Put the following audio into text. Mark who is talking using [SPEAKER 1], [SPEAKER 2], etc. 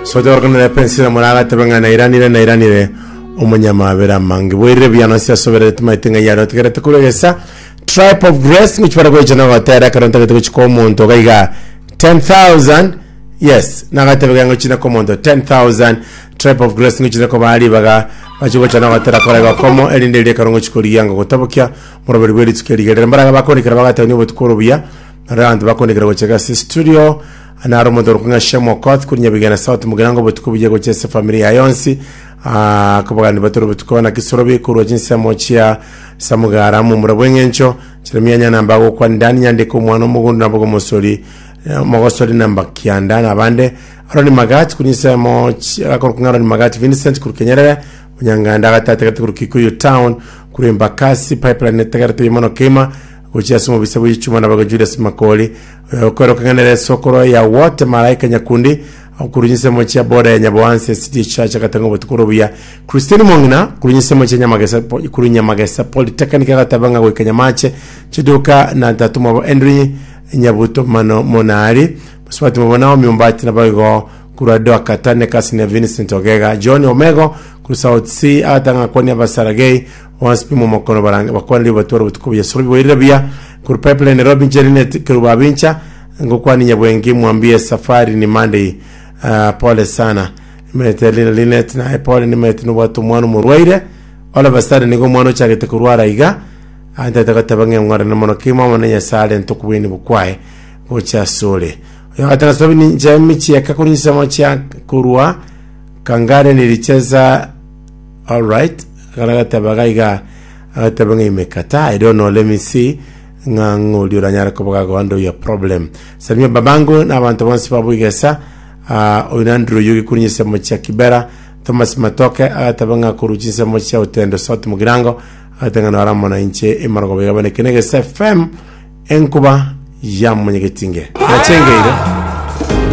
[SPEAKER 1] Sote pensira moragatebe ng'a nairanire nairanire omonyamabera amange bwairire buya nonsi asoberete maete ng'a yare otegerete korwa egesa Tribe of Grace ngochi bare goicha na gotera ekero ntagete gochi kwa omonto iga iga 10000 yes nagatebe iga ngochi na kwa omonto 10000 Tribe of Grace ngochi na kobaa ribaga bachi gocha na gotera kore gokomo erinde erio ekero ngochi korigia ngogotabokia moroberi bwe rituko erigerere mbaraga bakondikera bagatebania obotuko oro buya naro abanto bakondikera gocha iga ase studio Naro omonto orokwa ng'a Shem Okoth korwa Nyabigena South Mugirango obotuko buya gochia ase efamiri yaye yonsi. Ah, kobagani batore obotuko naki Sorobi korwa chinsemo chia Samugara momura bw'eng'encho Jeremia Nyanamba agokwana Dani Nyandiko omwana omogondo nabo gomosori eh, omogosori namba kianda na abande Aroni Magati korwa chinsemo chi- akorokwa ng'a Aroni Magati Vincent korwa Kenyerere Onyanganda agatatagete korwa Kikuyu Town korwa Embakasi Pipeline etegerete buya mono kegima gochia ase omobisa bwe chichuma naboigo Julius Makori Okoeroka ng'a nere esokoro ya wote Malaika Nyakundi korwa chinsemo chia boda ya Nyaboanse City Church agatanga obotuko ore obuya. Christine Mong'ina korwa chinsemo chia Nyamagesa korwa Nyamagesa Polytechnic agateba ng'a goika Nyamache chiduka na tata omwabo Henry Nyabuto Mano Monari Mosubati mwabo Naomi Ombati naboigo korwa Doa Katane Cousin ya Vincent Ogega John Omego korwa South C agatanga ng'a kwania Abasaragei bonsi pi momokono barange bakwanire obatware obotuko buya Sorobi bwairire buya Korwa Pipeline Nairobi inche Linet Kerubo Abincha ngokwani Nyabwengi mwambie safari ni Monday uh, pole sana nimaete Lina Linet naye pole nimaete nobwate omwana omorwaire all of a sudden nigo omwana ochagete korwara iga antete goteba ng'a eng'orane mono kimo amo na Nyasaye arente okobweni bokwaye gocha asore oyo agateba sababu ninche michieka korwa chinsemo chia korwa Kangare nilicheza alright agateba iga Agateba ng'a imekataa, I don't know, let me see ng'a ng'ori oranyare koba gagohandle your problem. Salimia babango na abanto bonsi ba Bwigesa, ah, oyo na Andrew Oyugi korwa chinsemo chia Kibera, Thomas Matoke agateba ng'a korwa chinsemo chia Utendo South Mugirango, agateba ng'a naro amo na inche emarogoba iga bane Kene Gesa FM enkuba ya Monyegetinge. Nachengeire.